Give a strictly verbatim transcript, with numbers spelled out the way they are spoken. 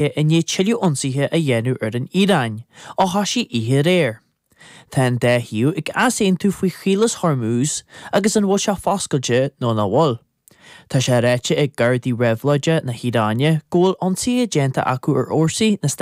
i ndiaidh tuilleadh ionsaithe a dhéanamh ar an Iaráin, ó thosaigh oíche aréir. Tá an dá thaobh ag easaontú faoi Chaolas Hormuz agus an bhfuil sé foscailte nó nach bhfuil. Tá sé ráite ag Gardaí Réabhlóide na hIaráine go bhfuil ionsaithe déanta acu ar fhórsaí na